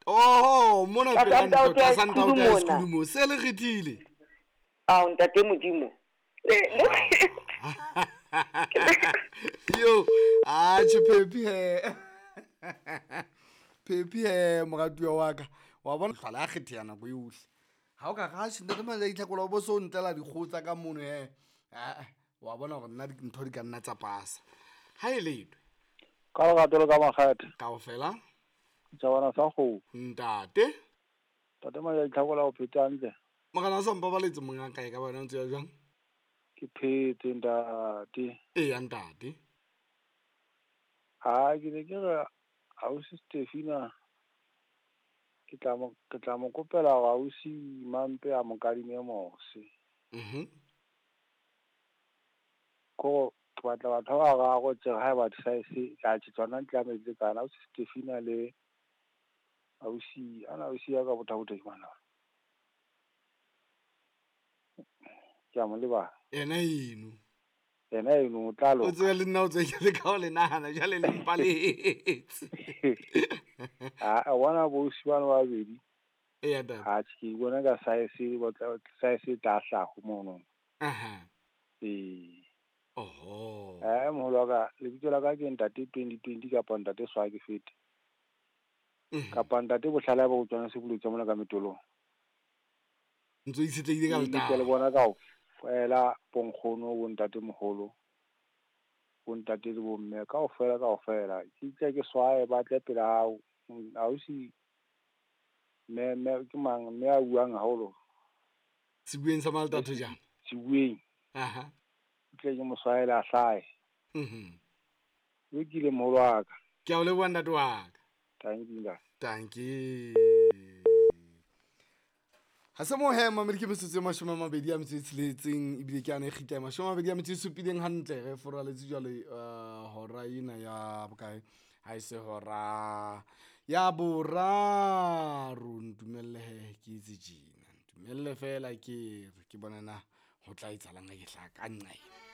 Oho, mona Tlasa pela ntlo, ntaote ya tlasa ntaote ya Sekhudu mona. Sekhudu mo. Se le kgethile. Ao ntate Modimo. Yo, atjhe Phephi he. Phephi he moratuwa wa ka. Wa bona tlhwala a kgetheha nako yohle. Ha o ka re atjhe ntate Maja Itlhakola o bo so ntlela dikgoho tsa ka mono he. Ah, wa bona hore nna ntho di ka nna tsa pasa. Ha e letwe. Ka lerato le ka makgethe. Kaofela. Tjhabana sa kgomo. Ntate. Ntate Maja Itlhakola o phetse hantle. Morena sa mpabaletse monga kae ka bona o ntse ya jwang? Ke phetse ntate. Eya ntate. Ha ke ne ke re ausi Stefina ke tla mo ke tla mo kopela hore ausi Mampe a mo kadime mose. Ko ke batla batho ba bararo tje haeba size atjhe tsona tlamehile kana ausi Stefina le ausi ana ausi ya ka botha-botha ke mang? Ke a mo lebala. Yena eno. Yena eno o tla O loka. tsebe le nna o tsebe ke leka ho le nahana jwale le mpaletse. Ah, bona bo ausi bana ba babedi. Eya ntate. Atjhe ke bona ka size ba tla size e tla hlaha mono. Aha. Ee. Oho. Moholo wa ka, lebitso la ka ke ntate 2020 kapa ntate Swake Fete. Kapa ntate Bohlale ba utlwana se buletswe mona ka metolong. Ntso itshetlehile ka Ke le letaba. bona kaofela bo nkgono, bo ntatemoholo, bo ntate le bomme kaofela kaofela. Ke tle ke swaye ba tle pela hao. Ausi mme mme ke mang mme a buang haholo. Sebueng sa Maltatho jang? Sebueng. Aha. Ke tle ke mo swaele a hlahe. Lokile moholo wa ka. Ke a o leboha ntate wa ka. Thank you ntate. Thank you. Ha se mo he mamedi ke metsotso e 26 ebile ke ana e kgitla e 27 hantle re foraletse jwale hora ena ya bokae ha e se hora ya boraro. Ntumelle he ke itse tjena, ntumelle fela ke re ke bona na ho tla etsahalang ha ke hlaha ka nqa ena.